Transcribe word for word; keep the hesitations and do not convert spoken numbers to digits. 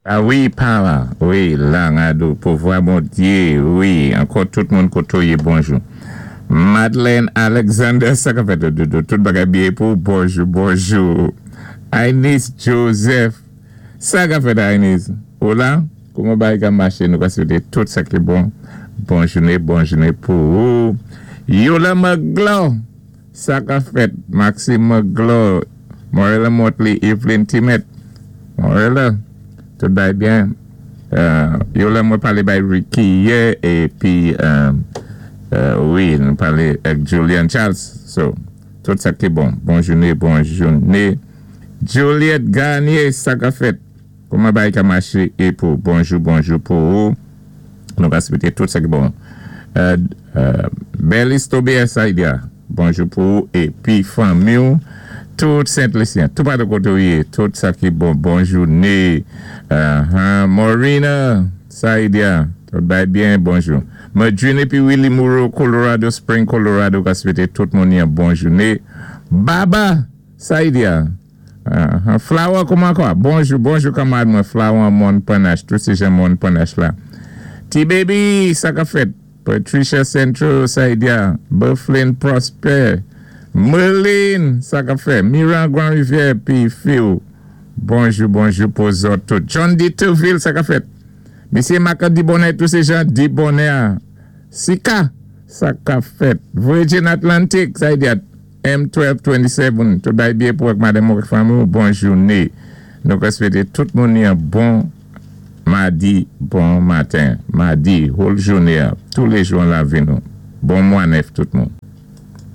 Ah wi, pa, wi, lang adou, pouvwa Bondyé, wi, ankò tout moun koto yé, bonjou. Madeleine Alexander, sa ka fèt, tout bagay byen pou, bonjou, bonjou. Ainis Joseph, sa ka fèt Ainis? Hola, kouman bagay ka maché, nou ka swété tout sa ki bon. Bon jouné, bon jouné pou ou. Yola Maglo, sa ka fèt, Maxime Maglo, Morella Motley, Evelyn Timet, Morella, tout bagay byen. Euh, Yola mwen palé bay Ricky yè, épi, euh, euh, wi, nou palé ak Julian Charles. So, tout sa ki bon. Bon jouné, bon jouné. Juliette Garnier, sa ka fèt. Kouman bagay ka maché é pou bonjou, bonjou pou ou. Nou ka swété tout sa ki bon. Euh, euh, Belis Tobias Saïdia, bonjou pou ou épi fanmi ou. Tout Sent-Lisyen, tout patou koté ou yé, tout sa ki bon, bon jouné. Uh, Morina Saïdia, tout bagay byen, bonjou. Madrine épi Willy Moreau, Colorado Spring, Colorado, ka swété tout moun yon bon jouné. Baba Saïdia, uh, Flower, kouman kwa? Bonjou, bonjou kanmad mwen, Flower Mon Panache, tout sé jan Mon Panache la. T-Baby, sa ka fèt. Patricia Centro, Saïdia, Bufflin Prosper, Merlin, sa ka fèt. Miran Grand Rivière, pi Phil. Bonjou, bonjou pou zòt tout. John D. Tourville, sa ka fèt. Misyé Maka Dibonnet, tout sé jan Dibonnet. Sika, sa ka fèt. Virgin Atlantic, Saïdia, M twelve twenty-seven, tout bagay byen pou ak madanm ak fanmi, bon jouné. Nou ka swété tout moun yon bon madi, bon maten. Madi, whole jouné, tous les jours lavi nou. Bon mwa nèf tout moun.